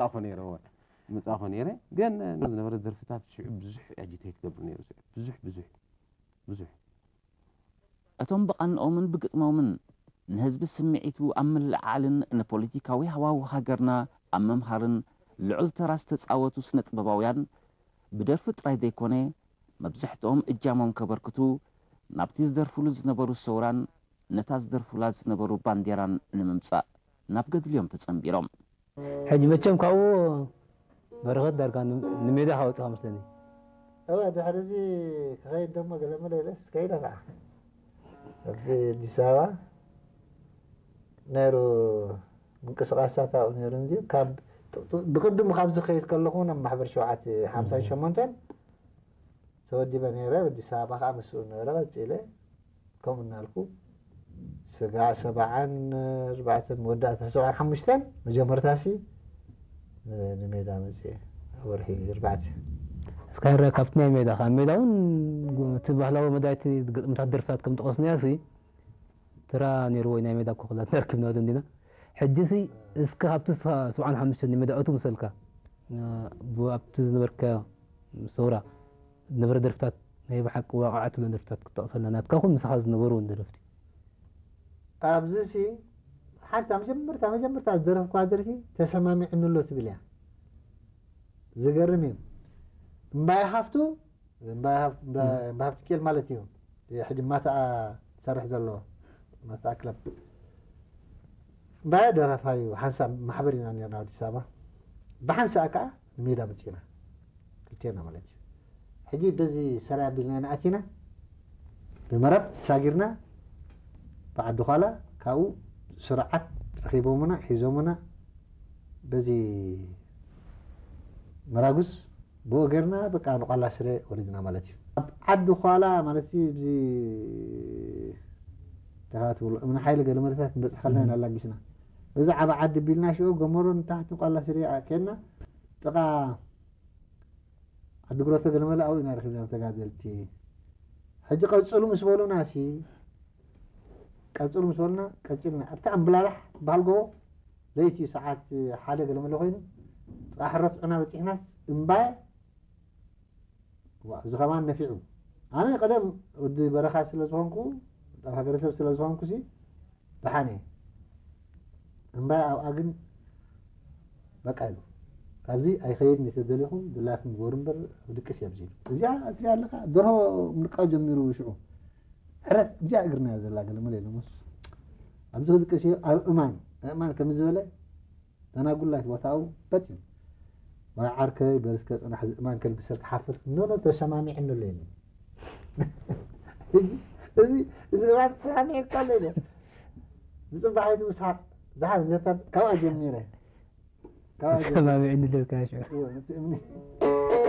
መጻእኹ ነይረ እወ፣ መጻእኹ ነይረ። ግን ዝነበረ ደርፍታት ሽዑ ብዙሕ ኣጂቴት ይገብር ነይሩ። ሽዑ ብዙሕ፣ ብዙሕ፣ ብዙሕ። እቶም ብቓንኦምን ብግጥሞምን ንህዝቢ ስምዒቱ ኣብ ምልዕዓልን ንፖለቲካዊ ሃዋሁ ሃገርና ኣብ ምምሃርን ልዑል ተራ ዝተጻወቱ ስነ ጥበባውያን፣ ብደርፊ ጥራይ ዘይኮነ፣ መብዛሕትኦም እጃሞም ከበርክቱ ናብቲ ዝደርፍሉ ዝነበሩ ሰውራን ነታ ዝደርፉላ ዝነበሩ ባንዴራን ንምምጻእ ናብ ገድሊ እዮም ተጸንቢሮም። ሕጂ መቸም ካብኡ በረኸት ዳርጋ ን- ንሜዳ ካወፅኻ መስለኒ። እወ፣ ድሕሪ እዚ ክኸይድ ደሞ ገለ መለ ኢለስ ከይደ ከዓ ኣብቲ ኣዲስ ኣበባ ነይሩ፣ ምንቅስቃሳት ኣብኡ ነይሩ እንጂ ካብ ብቅድሙ ካብዚ ከይድ ከለኹ ናብ ማሕበር ሸውዓተ ሓምሳን ሸሞንተን ተወዲበ ነይረ። ኣዲስ ኣበባ ከዓ ምስኡ ነበረ። ቀፂለ ከምኡ እናልኩ ስጋዕ ሰብዓን ኣርባዕተን መወዳእታ ሰብዓን ሓሙሽተን መጀመርታሲ ንሜዳ መፅየ ወርሒ ኣርባዕተ። እስካ ረ ካብቲ ናይ ሜዳ ካብ ሜዳ እውን እቲ ባህላዊ መዳይቲ ግጥምታት ደርፍታት ከም ጠቀስናያ ሲ ተራ ነይርዎ ናይ ሜዳ ኮክላት ነርክብና ዶ እንዲና። ሕጂ ሲ እስከ ካብቲ እስኻ ሰብዓን ሓሙሽተን ንሜዳ እቱ ምሰልካ ኣብቲ ዝነበርካዮ ሰውራ ዝነበረ ደርፍታት ናይ ብሓቂ ዋቕዓ ትብለን ደርፍታት ክትጠቕሰልና ናትካ ኹን ምሳኻ ዝነበሩ እውን ደረፍቲ። ኣብዚ ሲ ሓንቲ መጀመርታ መጀመርታ ዝደረፍኳ ደርፊ ተሰማሚዕኒ ኣሎ ትብል እያ። ዝገርም እዩ። እምባይ ሃፍቱ እምባይ ሃፍ- እምባ- እምባይ ሃፍቱ ኬል ማለት እዩ። ሕጂ ማታኣ ትሰርሕ ዘሎ ማታኣ ክለብ እምባይ ደራፋዩ ሓንሳብ ማሕበር ኢና ነርና ኣዲስ ኣበባ። ብሓንሳእ ከዓ ንሜዳ መፂና ክልቴና ማለት እዩ። ሕጂ በዚ ሰራይ ኣቢልና ኢና ኣቲና ብመረብ ተሳጊርና ብዓዲ ኳላ ካብኡ ስርዓት ረኺቦምና ሒዞምና በዚ መራጉስ ብኡ ገርና በቃ ንቋላ ስረ ወሪድና ማለት እዩ። ኣብ ዓዲ ኳላ ማለት እዚ ብዚ ተኻትብሉ እምነ ሓይሊ ገለ መለታት ክንበፅሕ ከልና ኢና ኣላጊስና በዚ ዓበ ዓዲ ቢልና ሽዑ ገመሮ ንታሕቲ ቋላ ስረ ከድና ጥቓ ዓዲ ግሮቶ ገለ መለ ኣብኡ ኢና ረኺብና ተጋደልቲ። ሕጂ ቀፅሉ ምስ በሉና ሲ ቀፅሉ ምስ በሉና ቀፂልና ኣብቲ ኣምብላላሕ ትበሃል ጎቦ ለይቲ እዩ ሰዓት ሓደ ገለ መለ ኮይኑ ጥቓ ሕረት ዑና በፂሕናስ እምባየ ዋ፣ እዚ ከማን ነፊዑ። ኣነ ቀደም ወዲ በረኻ ስለ ዝኾንኩ ኣብ ሃገረሰብ ስለ ዝኾንኩ ሲ ደሓን እየ። እምባየ ኣብኣ ግን በቃ ኢሉ ካብዚ ኣይኸይድን እየ ተደሊኹም ድላይኩም ግበሩ እምበር ድቅስ እየ ኣብዚ ኢሉ። እዚኣ እትሪኣ ኣለኻ ደርሆ ምርቃው ጀሚሩ ሽዑ ሕረት እዚኣ እግርና እያ ዘላ ገለ መለ ኢሎምስ ኣብዚ ክድቅስ እየ ኣብ እማን እማን ከም ዝበለ ተናጉላይ ቦታኡ በጥ እዩ። ዋይ ዓርከይ በል እስከ ፅናሕ እዚ እማን ከልግሰልካ ሓፍር ኖ ኖ ተሰማሚዕኒ ኣሎ ኢሉ። እዚ እዚ እዚ እማን ተሰማሚዕካ ኣሎ ኢሉ። ንፅባሕ ኣይትውስሓቅ ዝሓር ዘታት ካብኣ ጀሚረ ካብኣ ጀሚረ ሰማሚዕኒ ልብካ ሽዑ እወ፣ ነቲ እምኒ